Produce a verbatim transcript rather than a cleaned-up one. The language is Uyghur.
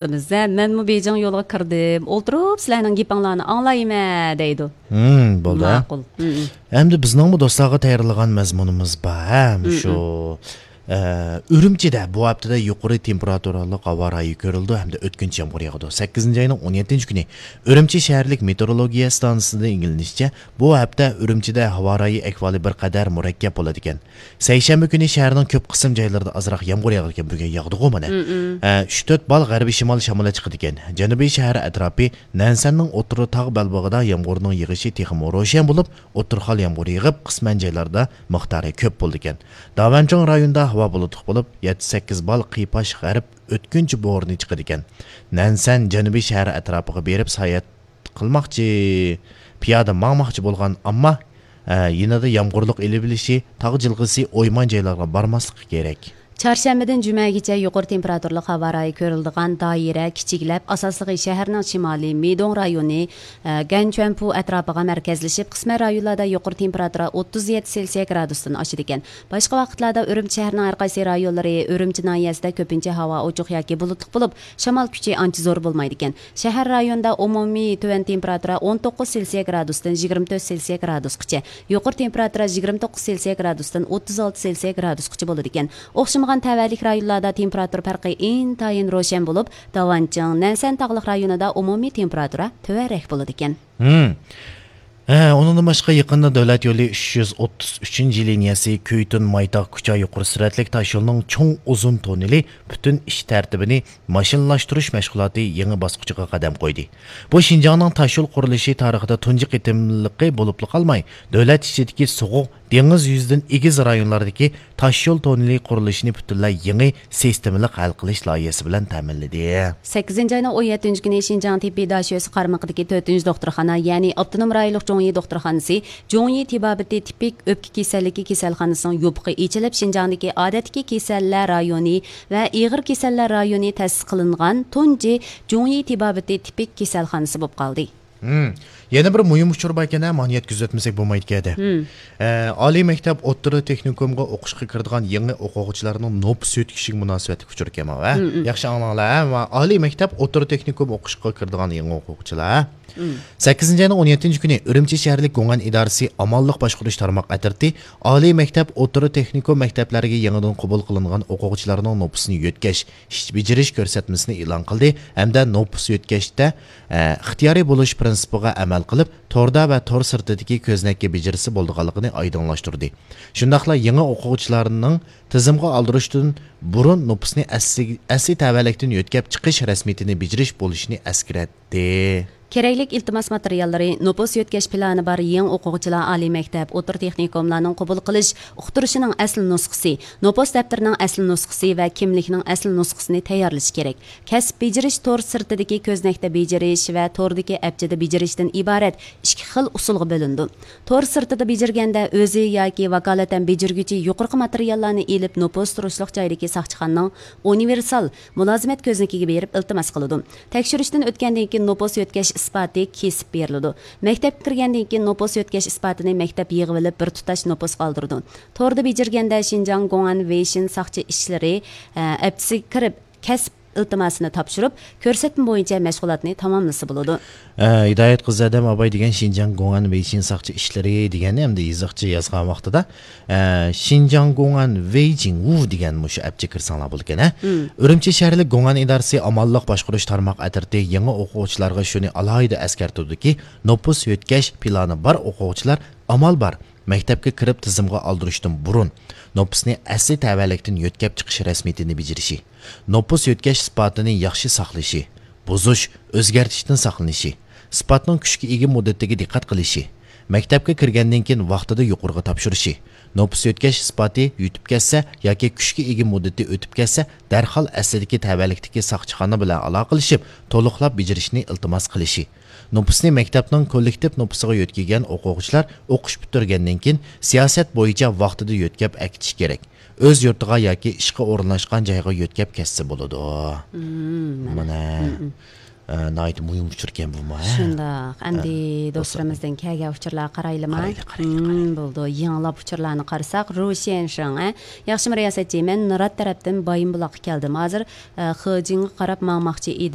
قىلىمىز. ھە، مەنمۇ بېيجىڭ يولىغا كىردىم. ئولتۇرۇپ سىلەرنىڭ گېپىڭلارنى ئاڭلايمەن دەيدۇ. ھىم، بولدى، ھە. ماقۇل. ھىم، ھىم. ئەمدى بىزنىڭمۇ دوستلارغا تەييارلىغان مەزمۇنىمىز بار، ھە، ھىم، مۇشۇ، ھىم. ئە، ئۈرۈمچىدە بۇ ھەپتىدە يۇقىرى تېمپېراتۇرالىق ھاۋا رايى كۆرۈلىدۇ ھەمدە ئۆتكۈنچى يامغۇر ياغىدۇ. سەككىزىنچى ئاينىڭ ئون يەتتىنچى كۈنى ئۈرۈمچى شەھەرلىك مېتېئورولوگىيە ئىستانسىسىدىن ئىگىلىنىشىچە، بۇ ھەپتە ئۈرۈمچىدە ھاۋا رايى ئەھۋالى بىر قەدەر مۇرەككەپ بولىدىكەن. سەيشەنبە كۈنى شەھەرنىڭ كۆپ قىسىم جايلىرىدا ئازراق يامغۇر ياغىدىكەن، بۈگۈن ياغدىغۇ مانا. مم، مم. ئە، ئۈچ تۆت بال غەربىي شىمال شامىلى چىقىدىكەن. جەنۇبىي شەھەر ئەتراپى، نەنسەننىڭ ئوتتۇرا تاغ بەلبېغىدا يامغۇرنىڭ يېغىشى تېخىمۇ روشەن بولۇپ، ئوتتۇرا خال يامغۇر يېغىپ، قىسمەن جايلاردا مىقدارى كۆپ بولىدىكەن. داۋەنچۇڭ رايونىدا ھاۋا بۇلۇتلۇق بولۇپ، يەتتە سەككىز بال قىيپاش غەرب ئۆتكۈنچى بورىنى چىقىدىكەن. نەنسەن جەنۇبىي شەھەر ئەتراپىغا بېرىپ ساياھەت قىلماقچى. پىيادە ماڭماقچى بولغان ئامما، ئە، يېنىدا يامغۇرلۇق ئېلىۋېلىشى، تاغ جىلغىسى ئويمان جايلارغا بارماسلىقى كېرەك. چارشەنبىدىن جۈمەگىچە يۇقىرى تېمپېراتۇرىلىق ھاۋا رايى كۆرۈلىدىغان دائىرە كىچىكلەپ، ئاساسلىقى شەھەرنىڭ شىمالىي مىدوڭ رايونى، ئە، گەنچۈەنپۇ ئەتراپىغا مەركەزلىشىپ، قىسمەن رايونلاردا يۇقىرى تېمپېراتۇرا ئوتتۇز يەتتە سېلسىيە گرادۇستىن ئاشىدىكەن. باشقا ۋاقىتلاردا ئۈرۈمچى شەھىرىنىڭ ھەر قايسى رايونلىرى، ئۈرۈمچى ناھىيەسىدە كۆپىنچە ھاۋا ئوچۇق ياكى بۇلۇتلۇق بولۇپ، شامال كۈچى ئانچە زور بولمايدىكەن. شەھەر رايونىدا ئومۇمىي تۆۋەن تېمپېراتۇرا ئون توققۇز سېلسىيە گرادۇستىن يىگىرمە تۆت سېلسىيە گرادۇسقىچە، يۇقىرى تېمپېراتۇرا يىگىرمە توققۇز سېلسىيە گرادۇستىن ئوتتۇز ئالتە سېلسىيە گرادۇسقىچە بولىدىكەن. ئوخشىمىغان تەۋەلىك رايونلاردا تېمپېراتۇرا پەرقى ئىنتايىن روشەن بولۇپ، داۋانچىڭ، نەنسەن تاغلىق رايونىدا ئومۇمىي تېمپېراتۇرا تۆۋەنرەك بولىدىكەن. ھىم. ھە، ئۇنىڭدىن باشقا، يېقىندا دۆلەت يولى ئۈچ يۈز ئوتتۇز ئۈچىنچى لىنىيەسى كۈيتۇن مايتاغ كۇچا يۇقىرى سۈرئەتلىك تاشيولىنىڭ چوڭ ئۇزۇن توننېلى پۈتۈن ئىش تەرتىپىنى ماشىنىلاشتۇرۇش مەشغۇلاتى يېڭى باسقۇچىغا قەدەم قويدى. بۇ شىنجاڭنىڭ تاشيول قۇرۇلۇشى تارىخىدا تۇنجى قېتىملىقى بولۇپلا قالماي، دۆلەت ئىچىدىكى سوغۇق، دېڭىز يۈزىدىن ئېگىز رايونلاردىكى تاشيول توننېلى قۇرۇلۇشىنى پۈتۈنلەي يېڭى سىستېمىلىق ھەل قىلىش لايىھەسى بىلەن تەمىنلىدى. سەككىزىنچى ئاينىڭ ئون يەتتىنچى كۈنى شىنجاڭ تېببىي داشۆسى قارمىقىدىكى تۆتىنچى دوختۇرخانا، يەنى ئاپتونوم رايونلۇق جۇڭيى دوختۇرخانىسى، جۇڭيى تېبابىتى تىپىك ئۆپكە كېسەللىكى كېسەلخانىسىنىڭ يوپۇقى ئېچىلىپ، شىنجاڭدىكى ئادەتتىكى كېسەللەر رايونى ۋە ئېغىر كېسەللەر رايونى تەسىس قىلىنغان تۇنجى جۇڭيى تېبابىتى تىپىك كېسەلخانىسى بولۇپ قالدى. ھىم. يەنە بىر مۇھىم ئۇچۇر باركەن، مانا يەتكۈزۈۋەتمىسەك بولمايدىكەن. ھىم. ئە، ئالىي مەكتەپ، ئوتتۇرا تېخنىكومغا ئوقۇشقا كىرىدىغان يېڭى ئوقۇغۇچىلارنىڭ نوپۇس يۆتكىشىگە مۇناسىۋەتلىك ئۇچۇر ئىكەن، ھە؟ ھىم، ھىم. ياخشى ئاڭلاڭلار، ھە؟ ئالىي مەكتەپ، ئوتتۇرا تېخنىكوم ئوقۇشقا كىرىدىغان يېڭى ئوقۇغۇچىلار، ھە؟ ھىم. سەككىزىنچى ئاينىڭ ئون يەتتىنچى كۈنى ئۈرۈمچى شەھەرلىك گوڭئەن ئىدارىسى ئامانلىق باشقۇرۇش تارماق ئەترىتى ئالىي مەكتەپ، ئوتتۇرا تېخنىكوم مەكتەپلەرگە يېڭىدىن قوبۇل قىلىنغان ئوقۇغۇچىلارنىڭ نوپۇسىنى يۆتكەش، ئىش بېجىرىش كۆرسەتمىسىنى ئېلان قىلدى ھەمدە نوپۇس يۆتكەشتە، ئە، ئىختىيارىي بولۇش پىرىنسىپىغا ئەمەل قىلىپ، توردا ۋە تور سىرتىدىكى كۆزنەككە بېجىرسە بولىدىغانلىقىنى ئايدىڭلاشتۇردى. شۇنداقلا يېڭى ئوقۇغۇچىلارنىڭ تىزىمغا ئالدۇرۇشتىن بۇرۇن نوپۇسنى ئەسلى، ئەسلى تەۋەلىكتىن يۆتكەپ چىقىش رەسمىيىتىنى بېجىرىش بولۇشىنى ئەسكەرتتى. كېرەكلىك ئىلتىماس ماتېرىياللىرى، نوپۇس يۆتكەش پىلانى بار يېڭى ئوقۇغۇچىلار ئالىي مەكتەپ، ئوتتۇرا تېخنىكوملارنىڭ قوبۇل قىلىش ئۇقتۇرۇشىنىڭ ئەسلى نۇسخىسى، نوپۇس دەپتىرىنىڭ ئەسلى نۇسخىسى ۋە كىملىكنىڭ ئەسلى نۇسخىسىنى تەييارلىشى كېرەك. كەسىپ بېجىرىش تور سىرتىدىكى كۆزنەكتە بېجىرىش ۋە توردىكى ئەپچىدە بېجىرىشتىن ئىبارەت ئىككى خىل ئۇسۇلغا بۆلۈنىدۇ. تور سىرتىدا بېجىرگەندە، ئۆزى ياكى ۋاكالىتەن بېجىرگۈچى يۇقىرىقى ماتېرىياللارنى ئېلىپ، نوپۇس تۇرۇشلۇق جايدىكى ساقچىخانىنىڭ ئۇنىۋېرسال مۇلازىمەت كۆزنىكىگە بېرىپ ئىلتىماس قىلىدۇ. تەكشۈرۈشتىن ئۆتكەندىن كېيىن نوپۇس يۆتكەش ئىسپاتى كېسىپ بېرىلىدۇ. مەكتەپكە كىرگەندىن كېيىن نوپۇس يۆتكەش ئىسپاتىنى مەكتەپ يىغىۋېلىپ بىر تۇتاش نوپۇسقا ئالدۇرىدۇ. توردا بېجىرگەندە شىنجاڭ گوڭئەن ۋېيشىن ساقچى ئىشلىرى، ئە، ئەپچىسىگە كىرىپ كەسىپ ئىلتىماسىنى تاپشۇرۇپ، كۆرسەتمە بويىچە مەشغۇلاتنى تاماملىسا بولىدۇ. ئە، ھىدايەت قىزى ئادەم ئاباي دېگەن شىنجاڭ گوڭئەن ۋېيشىن ساقچى ئىشلىرى دېگەننى ئەمدى يېزىقچە يازغان ۋاقتىدا، ئە، شىنجاڭ گوڭئەن ۋېيجىڭ ۋۇ دېگەن مۇشۇ ئەپچىگە كىرسەڭلار بولىدىكەن، ھە؟ مم. ئۈرۈمچى شەھەرلىك گوڭئەن ئىدارىسى ئامانلىق باشقۇرۇش تارماق ئەترىتى يېڭى ئوقۇغۇچىلارغا شۇنى ئالاھىدە ئەسكەرتىدۇكى، نوپۇس يۆتكەش پىلانى بار ئوقۇغۇچىلار ئامال بار مەكتەپكە كىرىپ تىزىمغا ئالدۇرۇشتىن بۇرۇن نوپۇسنى ئەسلى تەۋەلىكتىن يۆتكەپ چىقىش رەسمىيىتىنى بېجىرىشى، نوپۇس يۆتكەش ئىسپاتىنى ياخشى ساقلىشى، بۇزۇش، ئۆزگەرتىشتىن ساقلىنىشى، ئىسپاتنىڭ كۈچكە ئىگە مۇددىتىگە دىققەت قىلىشى، مەكتەپكە كىرگەندىن كېيىن ۋاقتىدا يۇقىرىغا تاپشۇرۇشى، نوپۇس يۆتكەش ئىسپاتى يۈتۈپ كەتسە ياكى كۈچكە ئىگە مۇددىتى ئۆتۈپ كەتسە، دەرھال ئەسلىدىكى تەۋەلىكتىكى ساقچىخانا بىلەن ئالاقىلىشىپ، تولۇقلاپ بېجىرىشنى ئىلتىماس قىلىشى. نوپۇسنى مەكتەپنىڭ كوللېكتىپ نوپۇسىغا يۆتكىگەن ئوقۇغۇچىلار ئوقۇش پۈتتۈرگەندىن كېيىن، سىياسەت بويىچە ۋاقتىدا يۆتكەپ ئەكېتىشى كېرەك. ئۆز يۇرتىغا ياكى ئىشقا ئورۇنلاشقان جايغا يۆتكەپ كەتسە بولىدۇ. مم، مانا. مم، مم. ئە، ناھايىتى مۇھىم ئۇچۇر ئىكەن بۇمۇ، ھە؟ شۇنداق. ئەمدى ئە، دوستلىرىمىزدىن كەلگەن ئۇچۇرلارغا قارايلىما؟ قارايلى، قارايلى، مم، بولىدۇ. يېڭىلاپ ئۇچۇرلارنى قارىساق، روشيەنشىڭ، ھە؟ ياخشىمۇ رىياسەتچى، مەن نۇرات تەرەپتىن بايىنبۇلاققا كەلدىم. ھازىر، ئە، خېجىڭغا قاراپ ماڭماقچى ئىدىم.